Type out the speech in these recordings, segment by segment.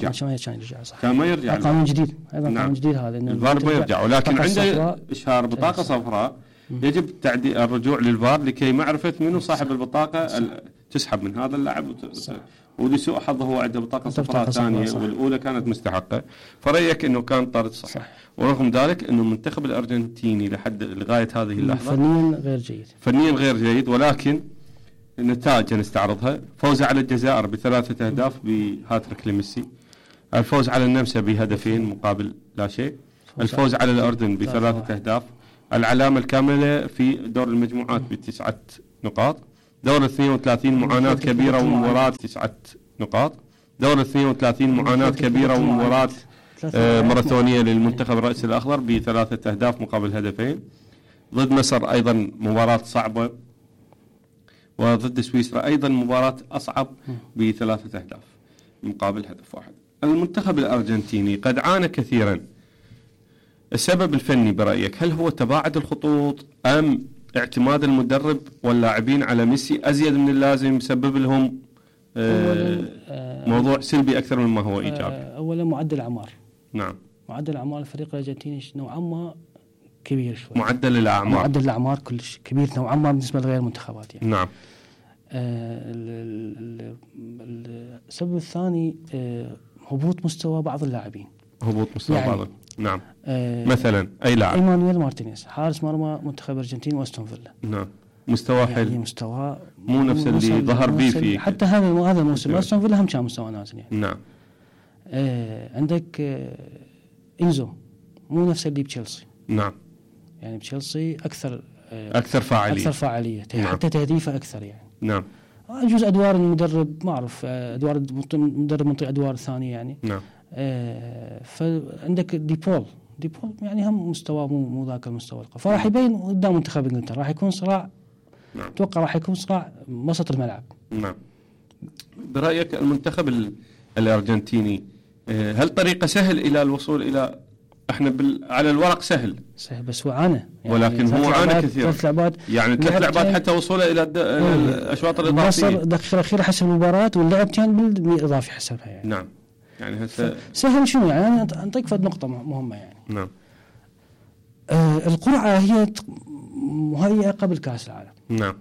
يرجع. كان يرجع صح. كان ما يرجع. قانون جديد أيضا. نعم. قانون جديد هذا. الفار ما يرجع، ولكن عنده إشهار بطاقة صفراء يجب تعديل الرجوع للفار لكي معرفة منو صاحب البطاقة تسحب من هذا اللاعب ولسوء حظه هو عنده بطاقة صفراء ثانية والأولى كانت مستحقة. فرأيك إنه كان طرد صح. ورغم ذلك إنه المنتخب الأرجنتيني لغاية هذه اللحظة فنيا غير جيد، ولكن النتائج نستعرضها: فوز على الجزائر ب3 أهداف بهاتريك لميسي، الفوز على النمسا بهدفين مقابل لا شيء، الفوز على الأردن ب3 أهداف، العلامة الكاملة في دور المجموعات ب9 نقاط، دور 32 معاناة كبيرة ومباراة 9 نقاط، دور 32 معاناة كبيرة ومباراة ماراثونية للمنتخب الرئيسي الأخضر ب3 أهداف مقابل هدفين، ضد مصر أيضا مباراة صعبة، وضد سويسرا أيضا مباراة أصعب ب3 أهداف مقابل هدف واحد. المنتخب الأرجنتيني قد عانى كثيرا. السبب الفني برأيك هل هو تباعد الخطوط أم اعتماد المدرب واللاعبين على ميسي أزيد من اللازم يسبب لهم موضوع سلبي أكثر مما هو إيجابي؟ أولا معدل أعمار. نعم. معدل أعمار الفريق الأرجنتيني نوعا ما كبير شوي. معدل الأعمار كلش كبير نوعا ما بالنسبة لغير المنتخبات يعني. نعم. السبب الثاني هبوط مستوى بعض اللاعبين. بعض. نعم. مثلا أي لاعب؟ إيمانويل مارتينيز حارس مرمى منتخب الأرجنتين وأستون فيلا. نعم. مستوى حلو. يعني مستوى مو نفس اللي ظهر به في حتى هذا الموسم أستون فيلا هم كان مستوى نازل يعني. نعم. عندك إنزو مو نفس اللي بتشيلسي. نعم. يعني بتشيلسي أكثر فاعلية. نعم. حتى تهديفه أكثر يعني. نعم. يجوز أدوار المدرب ما أعرف أدوار المدرب منطي أدوار ثانية يعني. نعم. فعندك ديبول يعني هم مستوى مو ذاك المستوى القوي، فراح يبين قدام منتخب انجلترا راح يكون صراع. نعم. اتوقع راح يكون صراع وسط الملعب. نعم. برأيك المنتخب الأرجنتيني هل طريقة سهل إلى الوصول إلى احنا على الورق سهل بس هو عانى يعني، ولكن هو عانى كثير. 3 لعبات يعني 3 لعبات حتى وصوله إلى الأشواط الإضافية. مصر دقيقة الأخيرة حسب المباراة واللعب كان بالإضافي حسبها يعني. نعم. يعني هسه سهل شنو يعني أنا أنطيك فد نقطة مهمة يعني. نعم. القرعة هي مهيئة قبل كأس العالم. نعم.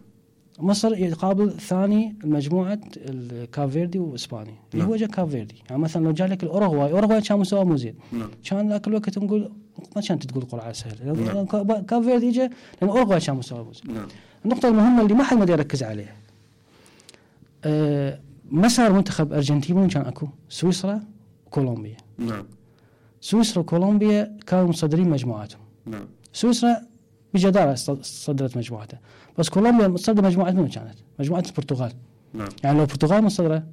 مصر يقابل ثاني المجموعة الكافيردي وإسبانيا. نعم. هو جا كافيردي يعني مثلا لو جاء لك الأوروغواي كان مستوى مو زين. نعم. كان ذاك الوقت نقول ما كانت تقول قرعة سهلة. نعم. كافيردي جا لأن الأوروغواي كان مستوى مو زين. نعم. النقطة المهمة اللي ما حد ما يركز عليها مسار منتخب أرجنتين كان أكو سويسرا وكولومبيا. نعم. سويسرا وكولومبيا كانوا مصدرين مجموعاتهم. نعم. سويسرا بجدارة صدرت مجموعتها، بس كولومبيا مصدر مجموعة منو كانت؟ مجموعة البرتغال. نعم. يعني لو البرتغال مصدرة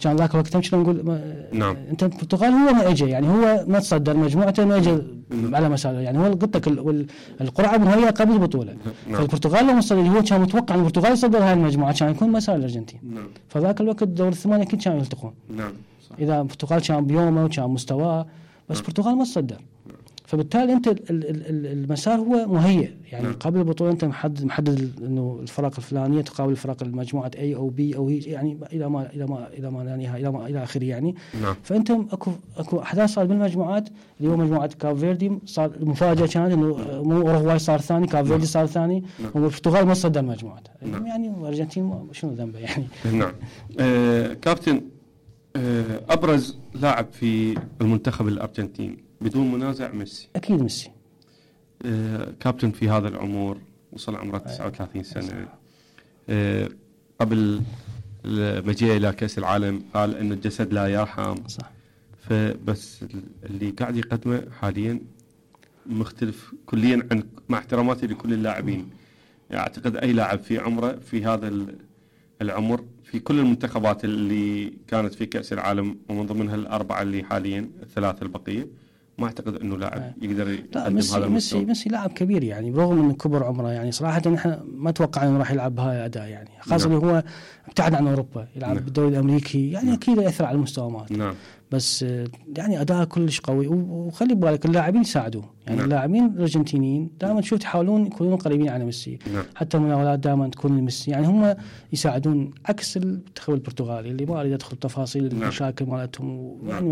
كان ذاك الوقت كنا نقول نعم. انت البرتغال هو ما اجى يعني هو ما تصدر مجموعته ما اجى على مساله يعني هو قلت لك القرعه مهيئه قبل البطوله. نعم. فالبرتغال لو مصدر هو كان متوقع ان البرتغال يصدر هاي المجموعه كان يكون مسار الارجنتين. نعم. فذاك الوقت دور الثمانيه كل كانوا يلتقون. نعم. صح. اذا البرتغال كان بيومه وكان مستواه بس البرتغال ما تصدر. فبالتالي انت المسار هو مهيئ يعني. نعم. قبل البطوله انت محدد انه الفرق الفلانيه تقابل الفرق المجموعه A او B او هي يعني الى ما لا نهايه الى اخره يعني. نعم. فانت اكو احداث صارت بالمجموعات اللي هو مجموعه كافيردي صار المفاجاه كانت انه مو اوروغواي صار ثاني كافيردي صار ثاني. نعم. والبرتغال ما صدر مجموعته. نعم. يعني الارجنتين شنو ذنبه يعني. نعم. كابتن ابرز لاعب في المنتخب الارجنتيني بدون منازع ميسي. أكيد ميسي. كابتن في هذا العمر وصل عمره 39 سنة. قبل مجيء إلى كأس العالم قال إن الجسد لا يرحم. صح. فبس اللي قاعد يقدمه حاليا مختلف كليا عن مع احتراماتي لكل اللاعبين. أعتقد أي لاعب في عمره في هذا العمر في كل المنتخبات اللي كانت في كأس العالم ومن ضمنها 4 اللي حاليا 3 البقية ما أعتقد إنه لاعب يقدر يقدم هذا المستوى. ميسي لاعب كبير يعني برغم إنه كبر عمره يعني صراحة نحن ما توقع إنه راح يلعب بهاي أداء يعني خاصة. نعم. اللي هو ابتعد عن أوروبا يلعب. نعم. بالدوري الأمريكي يعني. نعم. أكيد يأثر على المستوى مالته. نعم. بس يعني أداء كلش قوي وخلي بالك اللاعبين يساعدوه يعني. نعم. اللاعبين الأرجنتينيين دائما تشوف يحاولون يكونون قريبين على ميسي. نعم. حتى المناولات دائما تكون لميسي يعني هم يساعدون عكس المنتخب البرتغالي اللي ما أريد أدخل تفاصيل. نعم. المشاكل مالتهم يعني